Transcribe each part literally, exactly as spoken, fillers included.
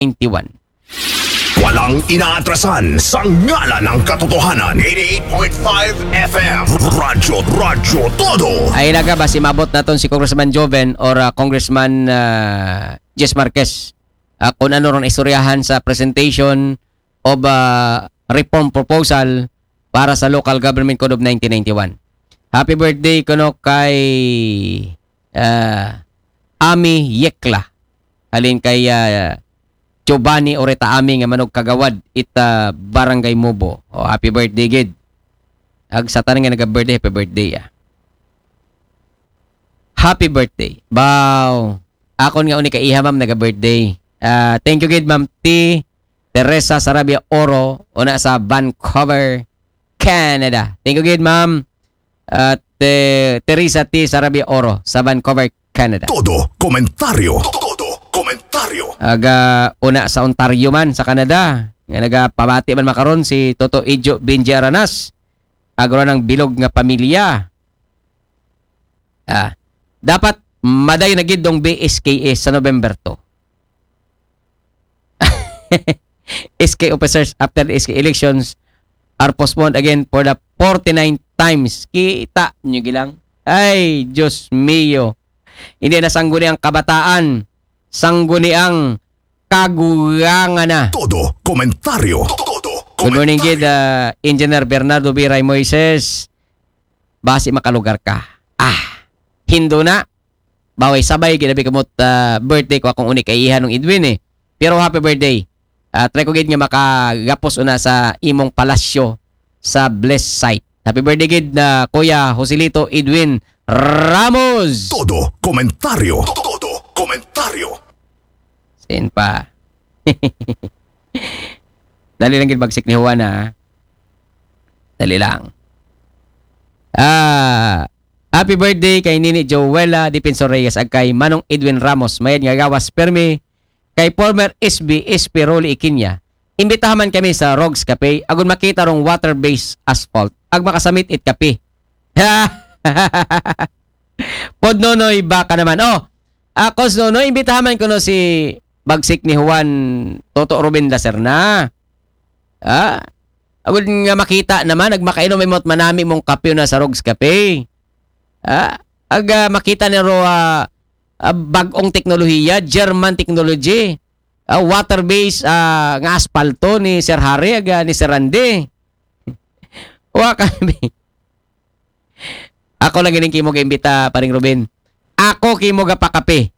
ninety-one. Walang inaatrasan sa ngalan ng katotohanan. eighty-eight point five F M. Radyo, Radyo Todo. Ay naga, basi mabot naton si Congressman Joven or uh, Congressman uh, Jess Marquez. Uh, kung ano ron istoryahan sa presentation of uh, reform proposal para sa Local Government Code of nineteen ninety-one. Happy birthday kuno kay uh, Ami Yekla. Halin kay uh, Giovanni Oreta Ami nga manog kagawad ita Barangay Mubo. O, happy birthday gid. Ag sa tanan nga naga-birthday, happy birthday ah. Happy birthday. Bow. Akon nga uni kaiha ma'am naga-birthday. Ah, thank you gid Ma'am T. Teresa Sarabia Oro, una sa Vancouver, Canada. Thank you gid ma'am. At eh, Teresa T Sarabia Oro sa Vancouver, Canada. Todo komentaryo. Todo komentaryo. Aga una sa Ontario man sa Canada. Nga nagapabati man makaron si Toto Ijo Binji Aranas. Agro ng bilog nga pamilya. Ah, dapat maday na gid dong B S K S sa November two. S K officers after the S K elections are postponed again for the forty-nine times. Kita nyo gilang. Ay, Diyos mio. Hindi na sangguni ang kabataan. Sangguni ang kagulangan na. Todo komentaryo. Todo Good morning, Gid. Uh, Engineer Bernardo B. Ray Moises. Basi makalugar ka. Ah, hindo na. Baway sabay, ginabi kamot uh, birthday ko akong unik ay iha nung Edwin eh. Pero happy birthday. Uh, try ko gid nga makagapos una sa imong palasyo sa blessed site. Happy birthday gid na Kuya Joselito Edwin Ramos. Todo komentaryo. Todo komentaryo. Sin pa. Dali lang gid bagsik ni Juan ha. Dali lang. Ah, happy birthday kay Nini Joella Defensor Reyes ag kay Manong Edwin Ramos, mayad nga gawas permi kay former S B S P Rolly Ikinya. Imbitahan man kami sa Rogs Cafe agon makita rong water-based asphalt ag makasamit it kape. Pod Nonoy baka naman. Oh, ako si Nonoy, imbitahan man ko no si bagsik ni Juan Toto Ruben Lacerna. Ah, agud nga makita naman, nagmakainom imot manami mong kape na sa Rogs Cafe. Ah, ag ah, makita ni ro ah, ah, bag-ong teknolohiya, German technology. Ah, water-based ah, nga aspalto ni Sir Harry ag ah, ni Sir Randy. Wa kami. Ako lang gining kimo imbita paring Ruben. Ako kimo gapakape.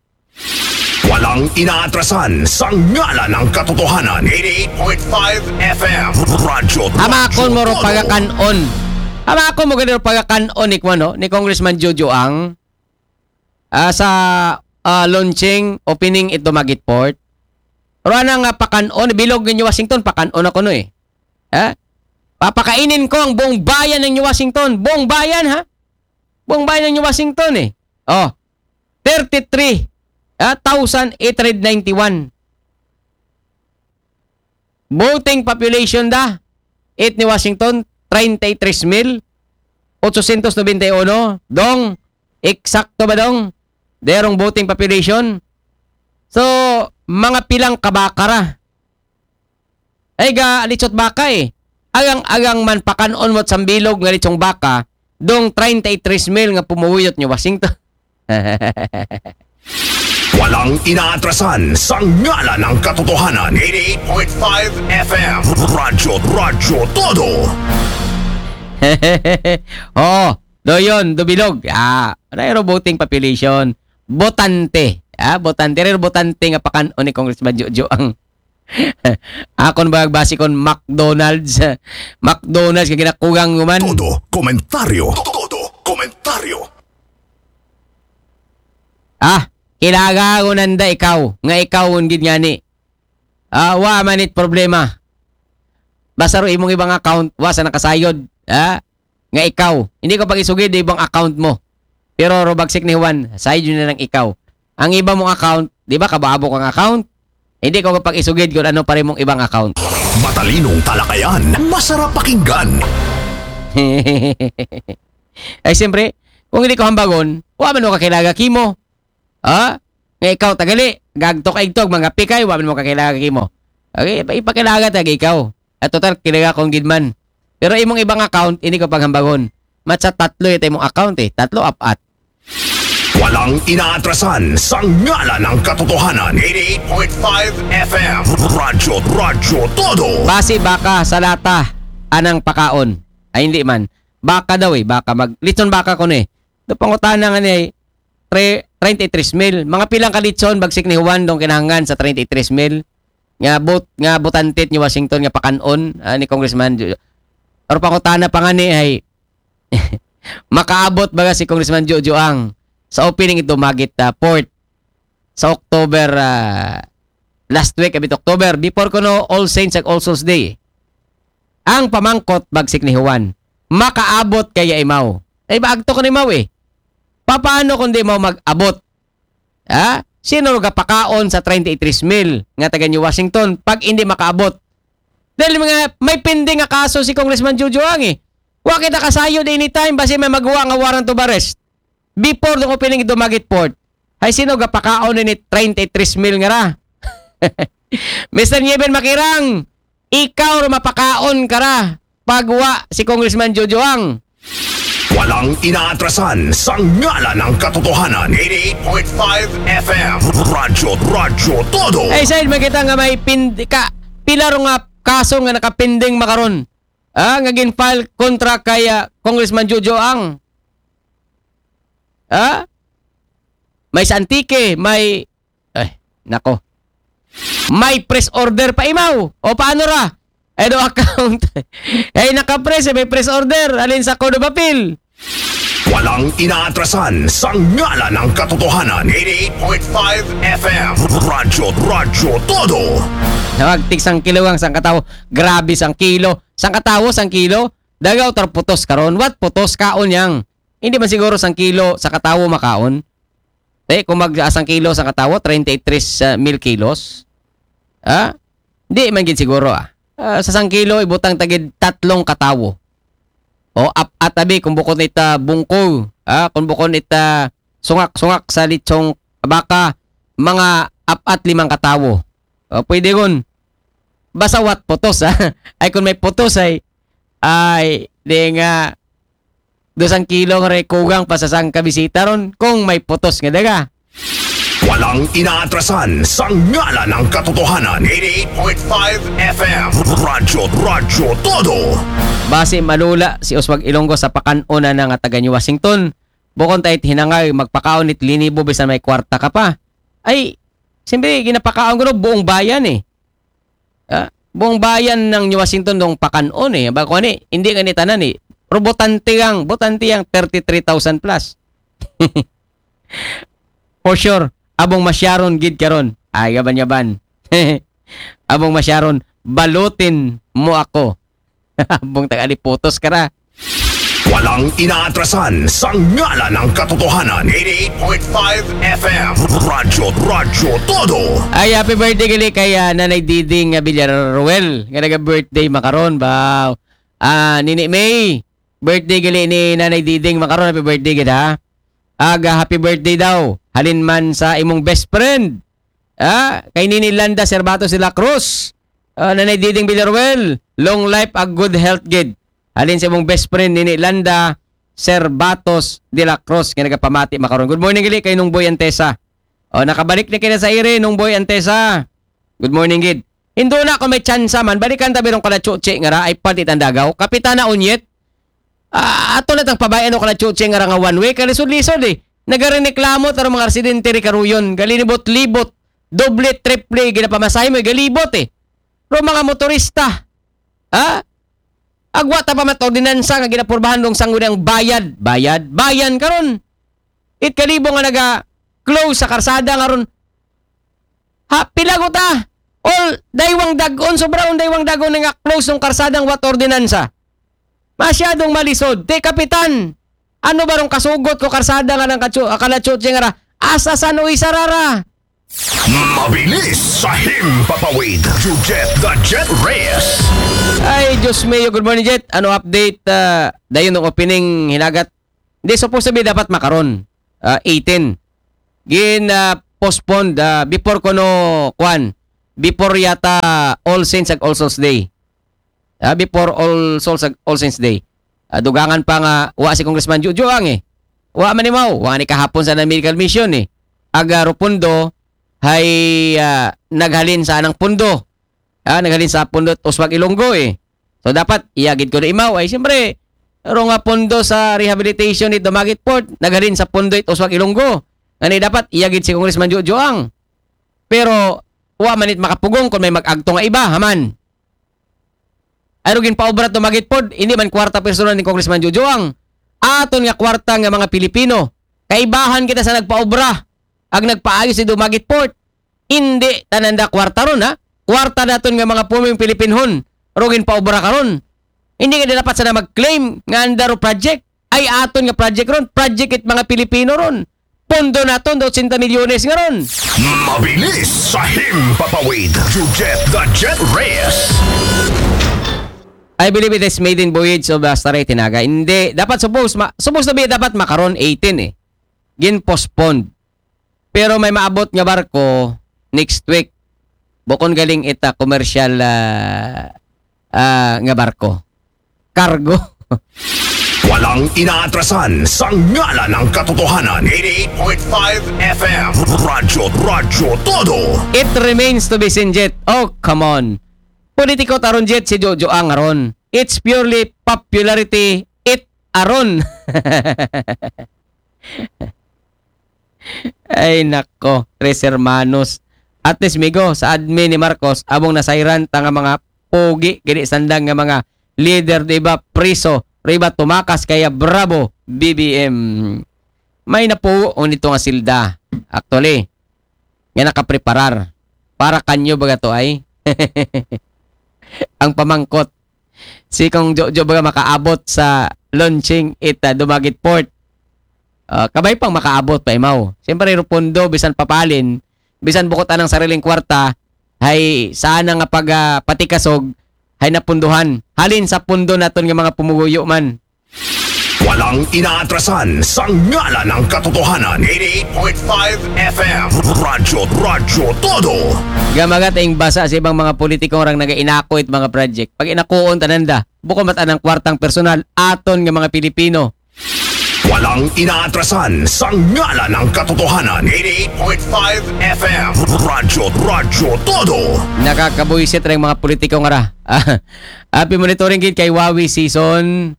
Walang inaatrasan sa ngalan ng katotohanan. eighty-eight point five F M. Radyo Amakon mo ro Todo. Pagakanon. Amakon mo gani ro Pagakanon ni kuno ni Congressman Jojo ang ah, sa ah, launching opening ito Magit Port. Ro na nga pakanon bilog ninyo Washington pakanon ako no eh. Ha? Papakainin ko ang buong bayan ng New Washington. Buong bayan ha? Buong bayan ng New Washington eh. Oh. thirty-three ah, thousand eight hundred ninety-one. Voting population da it ni Washington treinta y tres mil ochocientos noventa y uno. Dong, eksakto ba dong? Derong voting population. So, mga pilang kabakara. Ay ga lichot baka eh. Agang-agang man pakanon mo't sambilog nga lechong baka, dong treinta y tres mil nga pumuyot ni Washington. Walang inaatrasan sa ngalan ng katotohanan. eighty-eight point five F M. Radyo, Radyo Todo. Oo, do yun, do bilog. Ah, ano yung voting population? Botante. Ah, botante. Rin botante nga pakanon ni Congressman Jojo ang akon ba basi kon McDonald's? McDonald's nga ginakugang man. Todo komentaryo. Todo komentaryo. Ah, kilaga ko nanda ikaw, nga ikaw gid ngani. Ah, wa man it problema. Basta ro imong ibang account, wa sa nakasayod, ha? Nga ikaw, hindi ko pag-isugid ibang account mo. Pero ro bagsik ni Juan, sayod yun na lang ikaw. Ang iba mong account, di ba kababok ang account? Hindi ko pag-isugid kung ano pa rin mong ibang account. Matalinong talakayan, masarap pakinggan. Ay siyempre, kung hindi ko hambagon, wa man mo kakilaga kimo. Ha? Nga ikaw, tagali, gagtok ay igtog, mga pikay, wa man mo kakilala kimo. Okay, ipa-, ipakilala ta ikaw. At total, kilala kong gid man. Pero imong ibang account, hindi ko paghambagon. Matsa tatlo ito imong account eh. Tatlo, apat. Walang inaatrasan sa ngalan ng katotohanan. Eighty-eight point five F M. Radyo, Radyo Todo. Basi baka sa lata, anang pakaon. Ay, hindi man. Baka daw eh, baka mag-, lechon baka ko ni. Do pangutana nga ni, tre-, treinta y tres mil. Mga pilang ka lechon, bagsik ni Juan, dong kinahanglan sa treinta y tres mil. Nga but, nga butantit ni Washington, nga pakanon, ah, ni Congressman Ju-, or pangutana pa nga ni ay, makaabot ba si Congressman Jojo Ang sa opening ito magit ah, port sa October, ah, last week, abit October, before ko no All Saints ag All Souls Day. Ang pamangkot, bagsik ni Juan, makaabot kaya imaw. Ay, ba agto ko ni Mau eh. Paano kung di mo mag-abot? Ha? Sino ro gapakaon sa treinta y tres mil nga taga New Washington pag hindi makaabot? Dahil mga may pending nga kaso si Congressman Jojo Ang eh. Wa kita kasayod anytime basi may magawa nga warrant of arrest. Before dong opening dumagit port. Ay sino gapakaon ni treinta y tres mil nga ra? Mister Nieben Makirang, ikaw ra mapakaon ka ra pag wa si Congressman Jojo Ang. Walang inaatrasan sa ngalan ng katotohanan. Eighty-eight point five F M. Radyo, Radyo Todo. Ay, side man kita nga may pind-, ka, pila ro nga kaso nga nakapinding makaron. Ah, nga gin-file kontra kay ah, Congressman Jojo Ang. Ah? May sa Antique, may, ay, nako. May press order pa imaw. O paano ra? Ay, do account. Ay, naka-press, eh, may press order. Alin sa Court of Appeal? Walang inaatrasan sa ngalan ng katotohanan. Eighty-eight point five F M. Radyo, Radyo Todo. Tawag, tig sang kilo ang sang katawo. Grabe sang kilo. Sang katawo, sang kilo. Dagaw tar putos karon. What putos kaon yang? Hindi man siguro sang kilo sa katawo makaon. Te, kung mag ah, sang kilo sa katawo, treinta y tres mil kilos. Ha? Hindi man gid siguro ah. Ah, sa sang kilo, ibutang tagid tatlong katawo. O ap-at abi, kung bukod ita bungkog, ah, kung bukod ita sungak-sungak sa litsong baka, mga apat limang katawo. O, pwede kun. Basta what putos, ha? Ay, kung may putos ay, ay, di nga, dosang kilo nga rin kugang pa sa sang kabisita ron kung may putos nga daga. Walang inaatrasan sa ngalan ng katotohanan. Eighty-eight point five F M. Radyo, Radyo Todo. Basi malula si Oswag Ilonggo sa pakanon na nga taga New Washington. Bukon tayo hinangay magpakaon it linibo bisan may kwarta ka pa. Ay, siyempre, ginapakaon ko no, buong bayan eh. Ah, buong bayan ng New Washington dong pakanon eh. Ba, kung ano eh, hindi nga ni tanan eh. Pero botante yang, botante yang thirty-three thousand plus. For sure, abong masyaron gid karon. Ay, yaban-yaban. Abong masyaron, balutin mo ako. Abong taga putos ka ra. Walang inaatrasan sa ngalan ng katotohanan. Eighty-eight point five F M. Radyo, Radyo Todo. Ay, happy birthday gali kay ah, Nanay Diding ah, Villaruel. Nga naga-birthday makaron ba? Ah, Nini May. Birthday gali ni Nanay Diding makaron. Happy birthday gid ha. Aga, happy birthday daw. Halin man sa imong best friend. Ah, kay Nini Landa Servatos de la Cruz. Ah, Nanay Diding Villaruel, long life ag good health gid. Halin sa imong best friend Nini Landa Servatos de la Cruz nga nagapamati makaron. Good morning gali kay Nung Boy Antesa. O, nakabalik na kina sa ire, Nung Boy Antesa. Good morning gid. Indo na kung may tsansa man, balikan tabi rong kalachuchi nga ra, ay pati tandagaw. Kapitana Unyet, ah, ato na tang pabayan o kalachuchi nga ra nga one way, kalisod-lisod eh. Nagarineklamo taro mga residente ri karuyon, galinibot-libot, doble, triple, ginapamasahe mo, galibot eh. Pero mga motorista, ha? Agwa ta pa man ordinansa nga ginapurbahan dong sangguniang bayad, bayad, bayan karon. It kalibo nga naga-close sa karsada nga ron. Ha, pila ko ta? All, daywang dagon, sobrang daywang dagon nga close ng karsadang wat ordinansa. Masyadong malisod. Te, kapitan, ano ba rong kasugot ko karsada nga ng kachu-, kalachuchi nga ra? Asa san uy sarara? Mabilis sa himpapawid. Jujet the Jet Reyes. Ay, Diyos mio, good morning, Jet. Ano update? Ah, dayon ng opening hinagat. Hindi, supposed to be dapat makaron. Ah, eighteen. Gin, ah, postponed, ah, before kuno, kwan, before yata All Saints ag All Souls Day. Ah, before All Souls ag All Saints Day. Ah, dugangan pa nga, wa si Congressman Jojo ang eh. Wa man imaw, wa ni kahapon sa medical mission eh. Aga ro pundo, hay, ah, naghalin sa anang pundo. Ah, naghalin sa pundo it Uswag Ilonggo eh. So dapat, iya gid kuno imaw. Ay, siyempre, ro nga pundo sa rehabilitation it Dumaguete Port, naghalin sa pundo it Uswag Ilonggo. Ngani dapat, iya gid si Congressman Jojo ang. Pero, wa man it makapugong kung may mag-agto nga iba, haman. Ay, ro ginpaobra it Dumaguete Port, hindi man kwarta personal ni Congressman Jojo ang. Aton nga kwarta nga mga Pilipino. Kaibahan kita sa nagpaobra, ag nagpaayos it Dumaguete Port. Hindi tanan da kwarta ron, ha? Kwarta naton nga mga puming Pilipinhon. Ro ginpaobra karon. Hindi nga dapat sana mag-claim nga anda ro project. Ay aton nga project ron. Project it mga Pilipino ron. Pondo naton, dosenta milyones nga ron. Mabilis sa himpapawid. Jujet the Jet Reyes. I believe it is maiden voyage of the Starry Tinaga. Hindi. Dapat suppose, ma, supposed to be dapat makaron eighteen eh. Gin-postpone. Pero may maabot nga barko next week. Bukon galing ita commercial ah, ah, nga barko. Cargo. Walang inaatrasan sa ngalan ng katotohanan. eighty-eight point five F M. Radyo, Radyo Todo. It remains to be seen, Jet. Oh, come on. Politiko taron, Jet, si Jojo ang aron. It's purely popularity it aron. Ay nako, tres hermanos. At least, migo, sa admin ni Marcos, abong nasayran ta nga mga pogi, gini sandang nga mga leader, di ba, priso, riba tumakas, kaya bravo, B B M. May napuo nito nga silda, actually, nga nakapreparar. Para kanyo baga to ay? Ang pamangkot, si Kong Jojo baga makaabot sa launching ita Dumaguete Port. Ah, kabay pang makaabot pa imaw. Siyempre, ro pundo, bisan papalin, bisan bukot anang sariling kwarta, hay sana nga pag ah, patikasog, hay napunduhan. Halin sa pundo naton nga mga pumuguyo man. Walang inaatrasan sa ngalan ng katotohanan. eighty-eight point five F M. Radyo, Radyo Todo. Gamagat ing basa sa ibang mga politiko rang nagainako it mga project. Pag inakuon tananda, bukon mat anang kwartang personal, aton nga mga Pilipino. Walang inaatrasan sa ngalan ng katotohanan. eighty-eight point five F M. Radyo, Radyo Todo. Nakakabuisit rin mga politiko nga ra. Happy monitoring gid kay Wawi Season.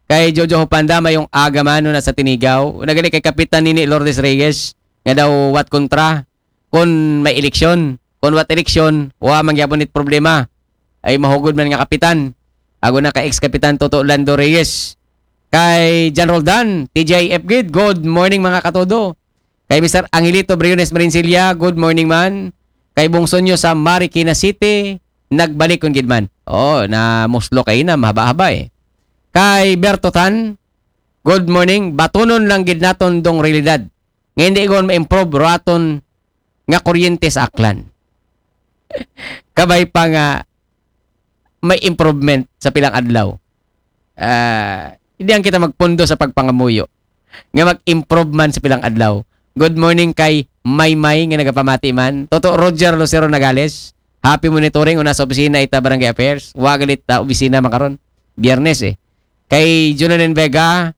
Kay Jojo Hopanda, mayong aga man, no, nasa Tinigaw. Nagali kay Kapitan Nini Lourdes Reyes, nga daw what kontra, kung may eleksyon. Kung what eleksyon, wa man gyapon it problema. Ay mahugod man nga kapitan. Ago na kay ex-kapitan Toto Lando Reyes. Kay John Roldan, T J F gid, good morning mga katodo. Kay Mister Angelito Briones Marincilla, good morning man. Kay Bungsonyo sa Marikina City, nagbalik kun gid man. Oh, na muslo kay na mahaba-haba eh. Kay Berto Tan, good morning. Batunon lang gid naton dong realidad. Nga hindi gon ma-improve raton nga kuryente sa Aklan. Kabay pa nga may improvement sa pilang adlaw. Ah, hindi ang kita magpundo sa pagpangamuyo nga mag-improve man sa pilang adlaw. Good morning kay Maymay nga nagapamati man. Toto Roger Lucero Nagales. Happy monitoring una sa opisina ita Barangay Affairs. Wa galit ta opisina makaron. Biyernes eh. Kay Junanen Vega,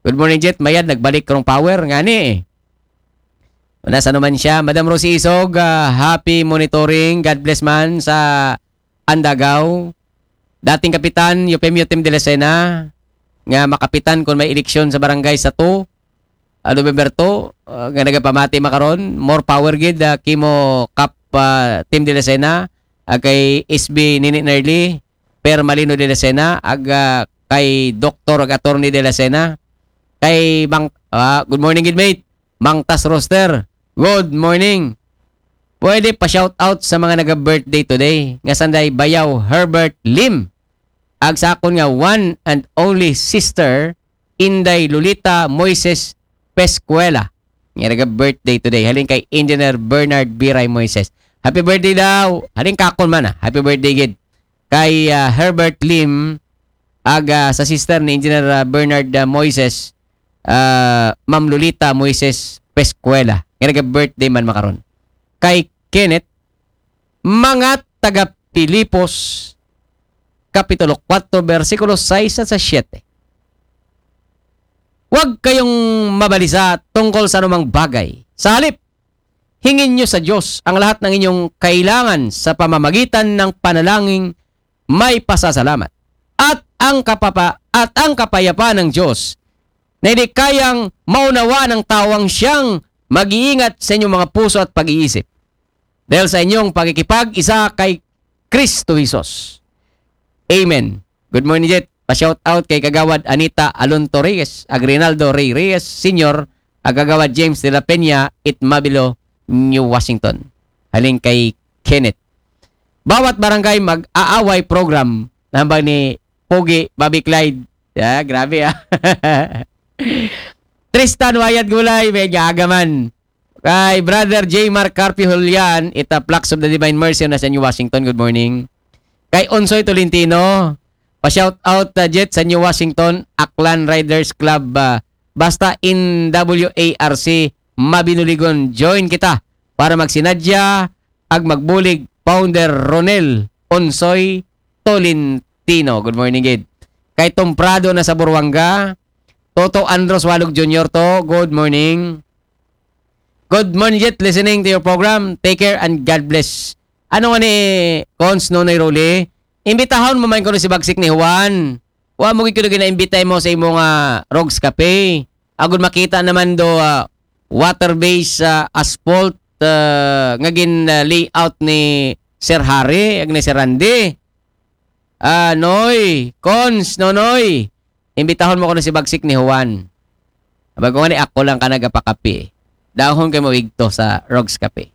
good morning, Jet. Mayad, nagbalik rong power. Nga ni eh. Una sa naman siya. Madam Rosie Isog, ah, happy monitoring. God bless man sa Andagaw. Dating kapitan, Eufemio Tim de la Sena, nga makapitan kung may eleksyon sa barangay sa two, ah, November two, ah, nga nagapamati makaron. More power gid, ah, kimo Kap, ah, Tim de la Sena, ah, kay S B Nini Nerly, Per Malino de la Sena, ag, ah, kay Doktor ag Attorney de la Sena, kay Mang, ah, good morning gid, mate. Mang Tas Roster, good morning. Pwede pa shout out sa mga naga-birthday today, nga sanday Bayaw Herbert Lim, ag sa akon nga one and only sister, Inday Lolita Moises Pescuela, nga naga-birthday today. Halin kay Engineer Bernard Biray Moises. Happy birthday daw. Halin kakon man ah. Happy birthday gid. Kay ah, Herbert Lim, ag ah, sa sister ni Engineer ah, Bernard ah, Moises, ah, Ma'am Lolita Moises Pescuela. Nga naga-birthday man makaron. kay Kenneth, mga taga Filipos, Kapitulo four, bersikulo sais at sa siyete. Huwag kayong mabalisa tungkol sa anumang bagay. Sa halip, hingin niyo sa Diyos ang lahat ng inyong kailangan sa pamamagitan ng panalangin may pasasalamat. At ang kapapa at ang kapayapaan ng Diyos na hindi kayang maunawa ng tao ang siyang mag-iingat sa inyong mga puso at pag-iisip. Dahil sa inyong pakikipag-isa kay Kristo Jesus. Amen. Good morning, Jet. Pa-shout out kay Kagawad Anita Alonto Reyes, Agrinaldo Ray Reyes Senior, ag Kagawad James de la Peña, Itmabilo, New Washington. Halin kay Kenneth. Bawat barangay mag-aaway program. Nambang ni Pogi, Bobby Clyde. Ya, grabe ah. Tristan Wayat Gulay, may gaagaman. Kay Brother J. Mark Carpio Julian, ita Flocks of the Divine Mercy na sa New Washington. Good morning. Kay Onsoy Tolentino, pa-shout out uh, Jet sa New Washington, Aklan Riders Club, uh, basta in W A R C, Mabinuligon. Join kita para magsinadya ag magbulig Founder Ronel Onsoy Tolentino. Good morning, gid. Kay Tom Prado na sa Buruanga, Toto Andros Walog Junior to, good morning. Good morning, Jet. Listening to your program. Take care and God bless. Ano nga ni Cons Nonoy Rolly? Imbitahon mo man kuno si Bagsik ni Juan. Wa mo gid kuno ginaimbitay mo sa imong ah, Rogs Cafe. Agud makita naman do ah, water-based ah, asphalt ah, nga gin ah, layout ni Sir Harry, ag ni Sir Randy. Ah, Noy, Cons, Nonoy. Imbitahon mo kuno si Bagsik ni Juan. Abay ko nga ni ako lang ka nagapakapi. Dahon kay mo igto sa Rogs Cafe.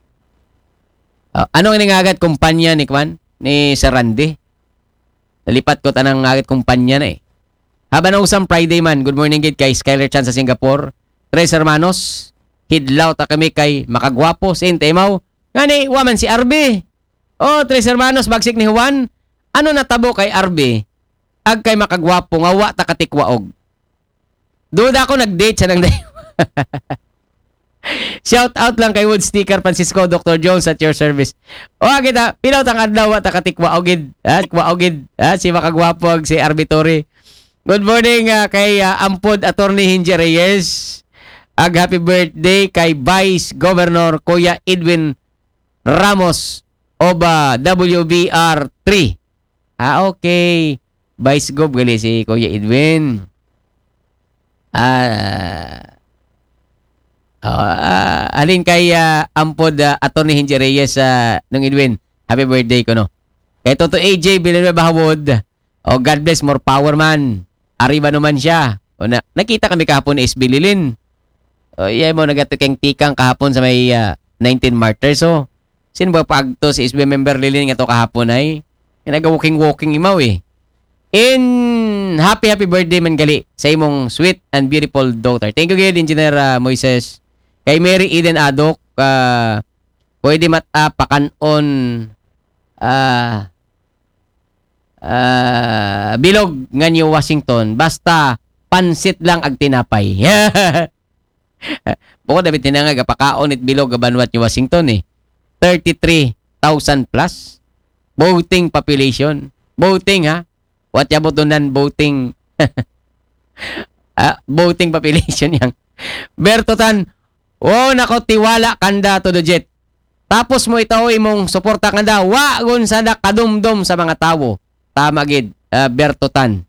Ah, ano nga nangagat kumpanya ni Kwan? Ni Sir Randy? Nalipat ko tanang ngagat kumpanya na eh. Haba na usang Friday man. Good morning gid kay Skyler Chan sa Singapore. Tres Hermanos, hidlaw ta kami kay Makagwapo, Saint Emaw. Ngani, wa man si Arby. Oh, Tres Hermanos, Bagsik ni Juan. Ano natabo kay Arby? Ag kay Makagwapo nga wa ta katikwaog. Duda ko nag-date siya ng day. Shout out lang kay Wood Sticker Francisco, Doctor Jones at your service. O kita, pilaw tang adlaw wa ta katikwaogid. Ha, kwaogid. Ha, si Makagwapo ag si Arbitori. Good morning ah, kay ah, Ampod Attorney Hinje Reyes. Ag happy birthday kay Vice Governor Kuya Edwin Ramos of ah, W B R three. Ah, okay. Vice Gov gali si Kuya Edwin. Ah, oh, ah, halin kay ah, Ampod ah, Attorney Hinji Reyes ah, nung Edwin. Happy birthday ko no. Kay Toto A J Villanueva Hawod. Oh, God bless, more power man. Arriba naman siya. O na, nakita kami kahapon ni S B Lilin. O, iya mo nagatikang-tikang kahapon sa may ah, nineteen Martyrs. So, sin ba pagto si S B member Lilin nga to kahapon ay? Nga naga-walking-walking imaw eh. In happy happy birthday man gali sa imong sweet and beautiful daughter. Thank you gid Engineer ah, Moises. Kay Mary Eden Adok, ah, pwede mat ah, pakanon ah, ah, bilog nga New Washington basta pansit lang ag tinapay. Bukod dapat tinangag apakaon it bilog nga banwat New Washington eh. Thirty-three thousand plus voting population. Voting ha? What about the non-voting? Ah, voting population yang. Berto Tan, wow, nako tiwala kanda to the jet. Tapos mo itaw imong suporta kanda, wa gun sa kadumdum sa mga tawo. Tama gid, ah, Berto Tan.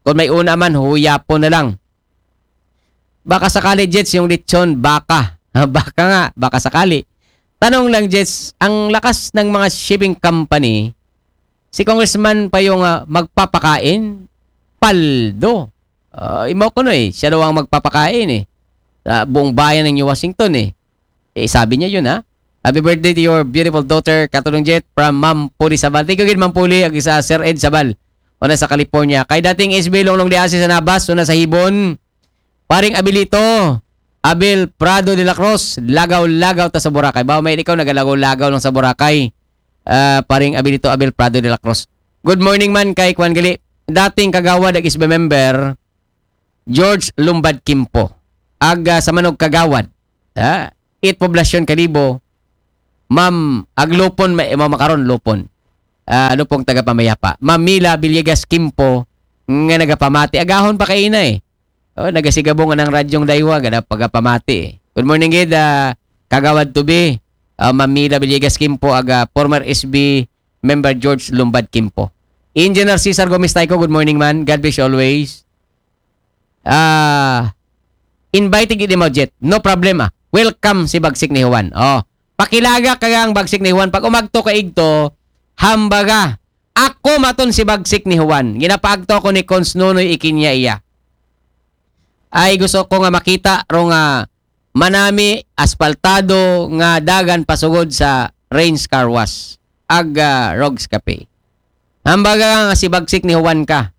Kung may una man, huyapo na lang. Baka sakali, Jets, yung lechon, baka. Baka nga, baka sakali. Tanong lang, Jets, ang lakas ng mga shipping company, si Congressman pa yung ah, magpapakain, paldo. Ah, imaw ko no eh, siya daw ang magpapakain eh. Sa buong bayan ng New Washington eh. Eh, sabi niya yun ha. Happy birthday to your beautiful daughter, Katulong Jet, from Ma'am Puli Sabal. Thank you gid, Ma'am Puli, ag sa Sir Ed Sabal. Una sa California. Kay dating S B Longlong Diasi sa Nabas, una sa Hibon. Paring Abilito, Abel Prado de la Cruz, lagaw-lagaw ta sa Boracay. Bawa may ikaw nagalagaw-lagaw lang sa Boracay. Ah, paring Abilito, Abel Prado de la Cruz. Good morning man kay Kwan Gali. Dating kagawad ag S B member, George Lumbad Kimpo. Ag ah, sa Manog Kagawad. Ah, it Poblacion Kalibo. Ma'am, ag Lupon, ma-, ma'am, makaron, Lupon. Ah, Lupong taga Pamayapa. Ma'am Mila Villegas Kimpo, nga nagapamati. Agahon pa kay ina eh. Oh, nagasigabong anang radyong daywa, gada pagapamati eh. Good morning, gid, ah, Kagawad Tubi. Ah, Ma'am Mila Villegas Kimpo, aga former S B member George Lumbad Kimpo. Engineer Cesar Gomez Taico, good morning, man. God bless you always. Ah, invited gid mo, Jet. No problem, ah. Welcome si Bagsik ni Juan. Oh, pakilaga ka ang Bagsik ni Juan. Pag umagto ka igto, hambaga. Ako maton si Bagsik ni Juan. Ginapaagto ako ni Cons Nonoy Ikinya iya. Ay gusto ko nga makita ro nga manami aspaltado nga dagan pasugod sa Rains Car Wash. Ag, ah, Rogs Cafe. Hambaga nga si Bagsik ni Juan ka.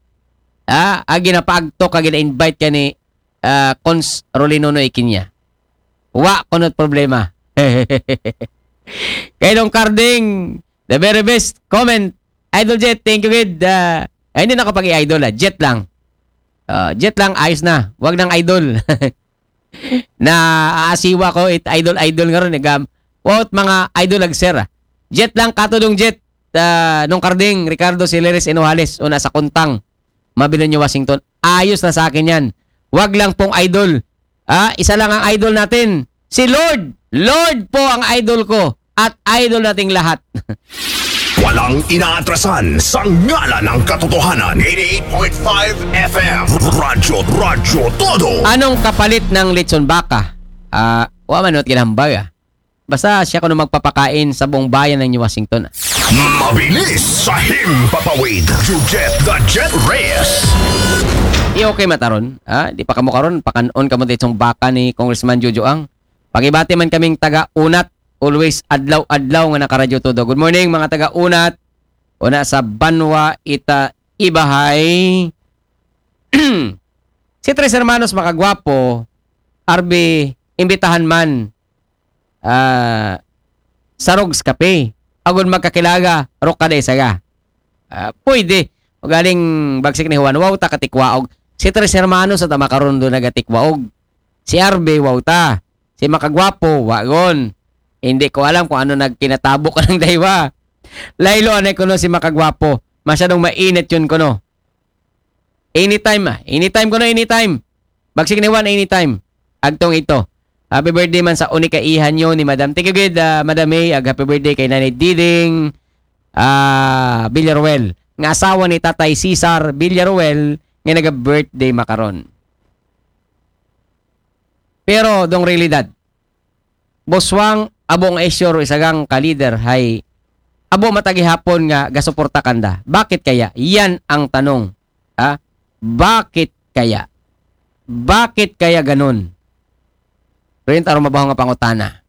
Ah, ag ginapaagto ka, gina-invite ka ni, ah, Cons Rolinono Ikinya. Wa kono't problema. Kay Dong Carding, the very best comment. Idol Jet, thank you, gid. Ah, ay, hindi na ako pag-i-idol, ah. Jet lang. Ah, Jet lang, ayos na. Wag nang idol. Na aasiwa ko, it idol, idol nga ron, eh, gam-, quote, mga idol ag sir, ah. Jet lang, katudong Jet, ah, Nong Carding, Ricardo Sileres Enohales, una sa Kuntang, Mabilo niyo, Washington. Ayos na sa akin yan. Wag lang pong idol. Ah, isa lang ang idol natin. Si Lord. Lord po ang idol ko. At idol nating lahat. Walang inaatrasan sa ngalan ng katotohanan. eighty-eight point five F M. Radyo, Radyo Todo. Anong kapalit ng lechon baka? Ah, wa man, not ginambag, ah. Basta siya kuno magpapakain sa buong bayan ng New Washington. Mabilis sa himpapawid. You get the Jet Reyes. Di okay mataron, ha? Di pa kamo karon, pakan-on kamo dito baka ni Congressman Jojo Ang. Pagibati man kaming taga Unat, always adlaw-adlaw nga nakaradyo todo. Good morning, mga taga Unat. Una sa Banwa, Ita, Ibahay. Si Tres Hermanos Makagwapo, Arby, imbitahan man, ah, sa Rogs Cafe. Agon magkakilaga, Rokada Isaga. Ah, pwede. Ugaling Bagsik ni Juan, wow ta katikwaog. Si Tres Hermanos at makaron doon nagatikwaog. Si Arby, wow ta. Si Makagwapo, wagon. Hindi ko alam kung ano nagkinatabo ka ng daywa. Laylo, anay kuno si Makagwapo. Masyadong mainit yun kuno. Anytime, ah. Anytime kuno, anytime. Bagsik ni Juan, anytime. Agtong ito. Happy birthday man sa unika iha nyo ni Madam. Thank you, gid, ah, Madam May. Ag happy birthday kay Nanay Diding, ah, Villaruel. Nga asawa ni Tatay Cesar Villaruel nga naga-birthday makaron. Pero, dong realidad, Boswang, abo nga isyo ro isagang ka leader hay abo matagihapon nga gasuporta kanda. Bakit kaya? Yan ang tanong. Ha? Bakit kaya? Bakit kaya ganun? Rin taro mabaho nga pangutana.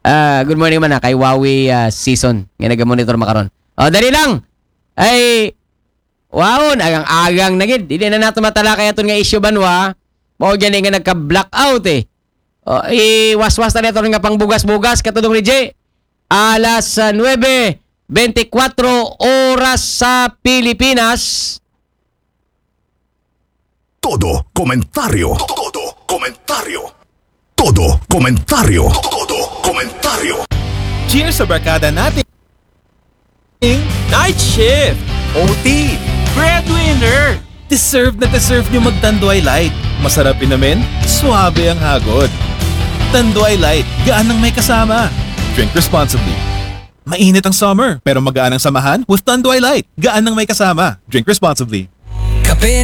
Ah, good morning man, ah, kay Wawi, ah, Season nga naga-monitor makaron. Oh, dali lang. Ay, waon, agang-agang na gid. Dili na nato matalakay aton nga isyu, Banwa. Mao gani nga nagka-blackout eh. O, iwaswas na nato nga pangbugas-bugas, katudong ni J. Alas, ah, nuebe bentikwatro oras sa Pilipinas. Todo komentaryo. Todo komentaryo. Todo komentaryo. Todo komentaryo. Cheers sa barkada natin. Night shift. O T. Breadwinner. Deserve na deserve nyo mag Tanduay Light. Masarap inumin, suabe ang hagod. Tanduay Light, gaan ng may kasama. Drink responsibly. Mainit ang summer, pero magaan ang samahan with Tanduay Light. Gaan ng may kasama. Drink responsibly.